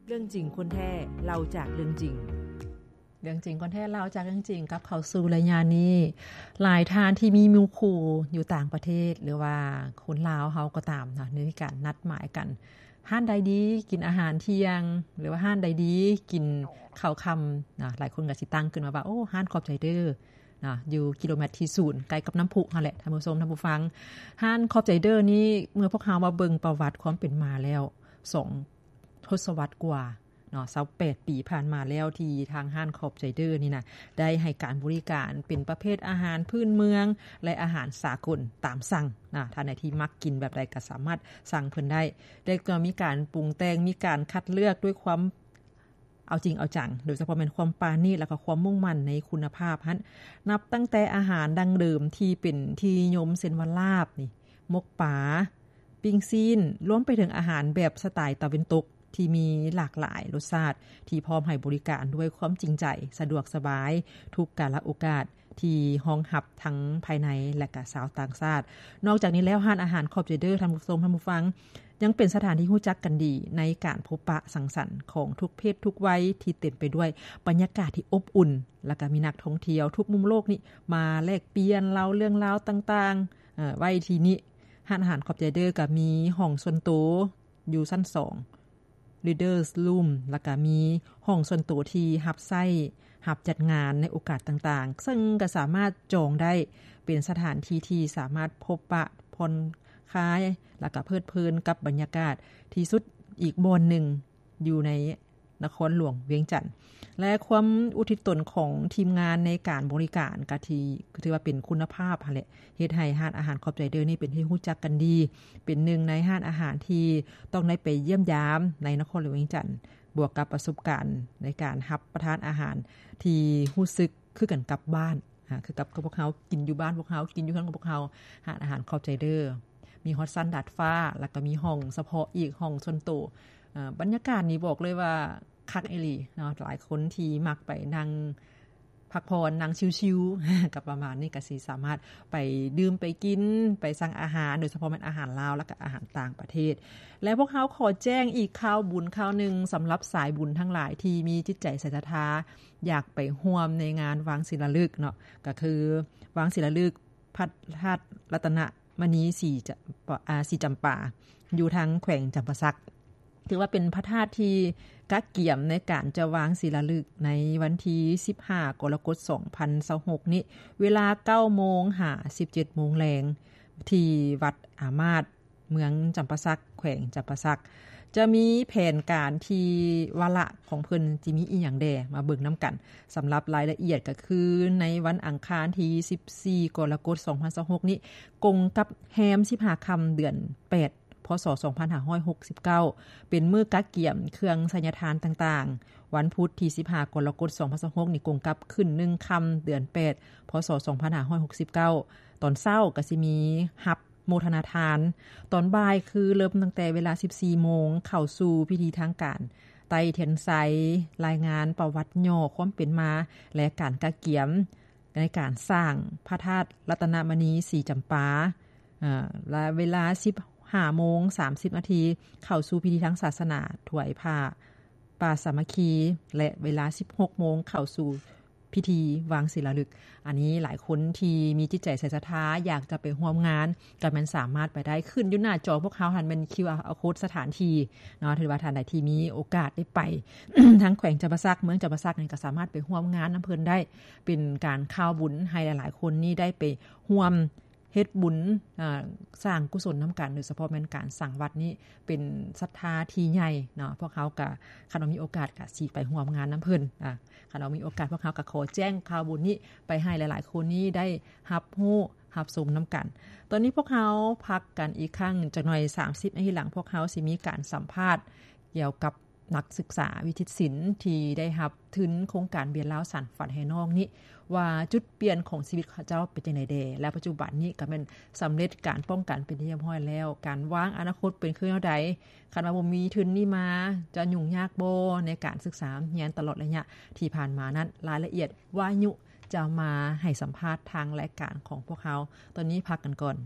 ເລື່ອງຈິງຄົນແທ້ ເລົ່າຈາກເລື່ອງຈິງ. ເລື່ອງຈິງຄົນແທ້ ເລົ່າຈາກເລື່ອງຈິງ ກັບເຂົ້າສູ່ໄລຍະນີ້ ຫຼາຍທ່ານທີ່ມີໝູ່ຄູ່ຢູ່ຕ່າງປະເທດ ຫຼືວ່າຄົນລາວເຮົາກໍຕາມເນາະ ໄດ້ມີການນັດໝາຍກັນ ຮ້ານໃດດີກິນອາຫານທ່ຽງ ຫຼືວ່າຮ້ານໃດດີກິນເຂົ້າຄ່ຳເນາະ. ຫຼາຍຄົນກໍຊິຕັ້ງຂຶ້ນມາວ່າ ໂອ້ ຮ້ານຂອບໃຈເດີ ເນາະ ຢູ່ກິໂລແມັດທີສູນ ໃກ້ກັບນ້ຳພຸຫັ້ນແຫຼະ ທ່ານຜູ້ຊົມ ທ່ານຜູ້ຟັງ. ຮ້ານຂອບໃຈເດີນີ້ ເມື່ອພວກເຮົາມາເບິ່ງປະຫວັດຄວາມເປັນມາແລ້ວ ສອງທົດສະວັດກວ່າເນາະ ຊາວແປດປີຜ່ານມາແລ້ວ ທີ່ທາງຮ້ານຂອບໃຈເດີນີ້ນະ ໄດ້ໃຫ້ການບໍລິການເປັນປະເພດອາຫານພື້ນເມືອງ ແລະ ອາຫານສາກົນຕາມສັ່ງນະ. ທ່ານໃດທີ່ມັກກິນແບບໃດກໍສາມາດສັ່ງເພິ່ນໄດ້ ແລະ ກໍມີການປຸງແຕ່ງ ມີການຄັດເລືອກດ້ວຍຄວາມ ເອົາຈິງເອົາຈັງ ໂດຍສະເພາະແມ່ນຄວາມປານີດ ແລ້ວກໍຄວາມມຸ່ງໝັ້ນໃນຄຸນນະພາບຫັ້ນ ນັບຕັ້ງແຕ່ອາຫານດັ້ງເດີມທີ່ເປັນທີ່ນິຍົມ ເຊັ່ນວ່າ ລາບນີ້ ໝົກປາ ປີ້ງຊີ້ນ ລວມໄປເຖິງອາຫານແບບສະໄຕຕາເວັນຕົກທີ່ມີຫຼາກຫຼາຍລົດຊາດ ທີ່ພ້ອມໃຫ້ບໍລິການດ້ວຍຄວາມຈິງໃຈ ສະດວກສະບາຍ ທຸກກາລະໂອກາດ ທີ່ຮອງຮັບທັງພາຍໃນ ແລະ ກະຊາວຕ່າງຊາດ. ນອກຈາກນີ້ແລ້ວ ຮ້ານອາຫານຂອບໃຈເດີ ທ່ານຜູ້ຊົມ ທ່ານຜູ້ຟັງ ຍັງເປັນສະຖານທີ່ຮູ້ຈັກກັນດີໃນການພົບປະສັງສັນຂອງທຸກເພດທຸກໄວ ທີ່ເຕັມໄປດ້ວຍບັນຍາກາດທີ່ອົບອຸ່ນ ແລ້ວກະມີນັກທ່ອງທ່ຽວທຸກມຸມໂລກນີ້ມາແລກປ່ຽນເລົ່າເລື່ອງລາວຕ່າງໆ ເອີ ໄວ້ທີ່ນີ້. ຮ້ານອາຫານຂອບໃຈເດີກະມີຫ້ອງສ່ວນໂຕຢູ່ຊັ້ນສອງ Readers Room ແລ້ວກະມີຫ້ອງສ່ວນໂຕທີ່ຮັບໃຊ້ ຮັບຈັດງານໃນໂອກາດຕ່າງໆ ເຊິ່ງກະສາມາດຈອງໄດ້ ເປັນສະຖານທີ່ທີ່ສາມາດພົບປະຜ່ອນຄາຍ ແລ້ວກະເພີດເພີນກັບບັນຍາກາດທີ່ສຸດອີກບ່ອນໜຶ່ງຢູ່ໃນນະຄອນຫຼວງວຽງຈັນ. ແລະ ຄວາມອຸທິດຕົນຂອງທີມງານໃນການບໍລິການກະທີ່ ຖືວ່າເປັນຄຸນນະພາບຫັ້ນແຫຼະ ເຮັດໃຫ້ຮ້ານອາຫານຂອບໃຈເດີນີ້ເປັນທີ່ຮູ້ຈັກກັນດີ ເປັນໜຶ່ງໃນຮ້ານອາຫານທີ່ຕ້ອງໄດ້ໄປຢ້ຽມຢາມໃນນະຄອນຫຼວງວຽງຈັນ ບວກກັບປະສົບການໃນການຮັບປະທານອາຫານທີ່ຮູ້ສຶກຄືກັນກັບບ້ານ ອາ ຄືກັບ ກັບພວກເຮົາກິນຢູ່ບ້ານພວກເຮົາ ກິນຢູ່ເຮືອນຂອງພວກເຮົາ. ຮ້ານອາຫານຂອບໃຈເດີ ມີຮອດຊັ້ນດາດຟ້າ ແລ້ວກໍມີຫ້ອງສະເພາະອີກ ຫ້ອງສ່ວນໂຕ. ອາ ບັນຍາກາດນີ້ບອກເລີຍວ່າຄັກອີ່ຫຼີເນາະ ຫຼາຍຄົນທີ່ມັກໄປນັ່ງ ພັກຜ່ອນ ນັ່ງຊິວໆ ກໍປະມານນີ້ ກໍຊິສາມາດໄປດື່ມໄປກິນ ໄປສັ່ງອາຫານ ໂດຍສະເພາະແມ່ນອາຫານລາວ ແລ້ວກໍອາຫານຕ່າງປະເທດ. ແລະ ພວກເຮົາຂໍແຈ້ງອີກຂ່າວບຸນຂ່າວໜຶ່ງ ສຳລັບສາຍບຸນທັງຫຼາຍທີ່ມີຈິດໃຈໃສສັດທາ ຢາກໄປຮ່ວມໃນງານວາງສີລາລຶກເນາະ ກໍຄືວາງສີລາລຶກພະທາດລັດຕະນະມະນີສີຈະ ອາ ສີຈຳປາ ຢູ່ທາງແຂວງຈຳປາສັກ. ຖືວ່າເປັນພະທາດທີ່ກະກຽມໃນການຈະວາງສີລາລຶກໃນວັນທີສິບຫ້າ ກໍລະກົດ ສອງພັນຊາວຫົກນີ້ ເວລາເກົ້າໂມງຫາສິບເຈັດໂມງແລງ ທີ່ວັດອາມາດ ເມືອງຈຳປາສັກ ແຂວງຈຳປາສັກ. ຈະມີແຜນການທີ່ວາລະຂອງເພິ່ນຊິມີອີ່ຫຍັງແດ່ ມາເບິ່ງນຳກັນ. ສຳລັບລາຍລະອຽດກໍຄືໃນວັນອັງຄານທີສິບສີ່ ກໍລະກົດ ສອງພັນຊາວຫົກນີ້ ກົງກັບແຮມສິບຫ້າຄ່ຳເດືອນແປດ ພ.ສ. ສອງພັນຫ້າຮ້ອຍຫົກສິບເກົ້າ ເປັນມື້ກະກຽມເຄື່ອງໄສຍະທານຕ່າງໆ. ວັນພຸດທີສິບຫ້າ ກໍລະກົດ ສອງພັນຊາວຫົກນີ້ ກົງກັບຂຶ້ນໜຶ່ງຄ່ຳເດືອນແປດ ພ.ສ. ສອງພັນຫ້າຮ້ອຍຫົກສິບເກົ້າ ຕອນເຊົ້າກໍຊິມີຮັບໂມທະນາທານ, ຕອນບ່າຍຄືເລີ່ມຕັ້ງແຕ່ເວລາສິບສີ່ໂມງ ເຂົ້າສູ່ພິທີທາງການໄຕ້ທຽນໄຊ, ລາຍງານປະຫວັດຫຍໍ້ຄວາມເປັນມາ ແລະ ການກະກຽມ ໃນການສ້າງພະທາດລັດຕະນະມະນີສີຈຳປາ ເອີ ແລະ ເວລາສິບຫ້າໂມງສາມສິບນາທີ ເຂົ້າສູ່ພິທີທາງສາສະໜາຖວາຍຜ້າປາສາມັກຄີ ແລະ ເວລາສິບຫົກໂມງ ເຂົ້າສູ່ພິທີວາງສີລາລຶກ. ອັນນີ້ຫຼາຍຄົນທີ່ມີຈິດໃຈໃສສັດທາ ຢາກຈະໄປຮ່ວມງານ ກໍແມ່ນສາມາດໄປໄດ້ ຂຶ້ນຢູ່ໜ້າຈໍພວກເຮົາຫັ້ນແມ່ນ ຄິວອາ ໂຄດ ສະຖານທີ່ເນາະ. ຖືວ່າທ່ານໃດທີ່ມີໂອກາດໄດ້ໄປ ທາງແຂວງຈຳປາສັກ ເມືອງຈຳປາສັກນີ້ ກໍສາມາດໄປຮ່ວມງານນຳເພິ່ນໄດ້ ເປັນການຂ່າວບຸນໃຫ້ຫຼາຍໆຄົນນີ້ໄດ້ໄປຮ່ວມເຮັດບຸນ ອາ ສ້າງກຸສົນນຳກັນ ໂດຍສະເພາະແມ່ນການສ້າງວັດນີ້ເປັນສັດທາທີ່ໃຫຍ່ເນາະ. ພວກເຮົາກໍ ຄັນວ່າມີໂອກາດກໍຊິໄປຮ່ວມງານນຳເພິ່ນ ອາ ຄັນວ່າມີໂອກາດ ພວກເຮົາກໍຂໍແຈ້ງຂ່າວບຸນນີ້ໄປໃຫ້ຫຼາຍໆຄົນນີ້ໄດ້ຮັບຮູ້ຮັບຊົມນຳກັນ. ຕອນນີ້ພວກເຮົາພັກກັນອີກຄັ້ງຈັກໜ່ອຍ ສາມສິບນາທີຫຼັງ ພວກເຮົາຊິມີການສຳພາດກ່ຽວກັບນັກສຶກສາວິທິດສິນທີ່ໄດ້ຮັບທຶນໂຄງການວຽນລາວສານຝັນໃຫ້ນ້ອງນີ້ ວ່າຈຸດປ່ຽນຂອງຊີວິດເຂົາເຈົ້າເປັນຈັ່ງໃດແດ່ ແລະ ປັດຈຸບັນນີ້ກໍແມ່ນສຳເລັດການປ້ອງກັນເປັນທີ່ຮຽບຮ້ອຍແລ້ວ. ການວາງອະນາຄົດເປັນຄືແນວໃດ? ຄັນວ່າບໍ່ມີທຶນນີ້ມາ ຈະຫຍຸ້ງຍາກບໍ່ໃນການສຶກສາຮຽນຕະຫຼອດໄລຍະທີ່ຜ່ານມານັ້ນ? ລາຍລະອຽດວາຍຸຈະມາໃຫ້ສຳພາດທາງລາຍການຂອງພວກເຮົາ. ຕອນນີ້ພັກກັນກ່ອນ.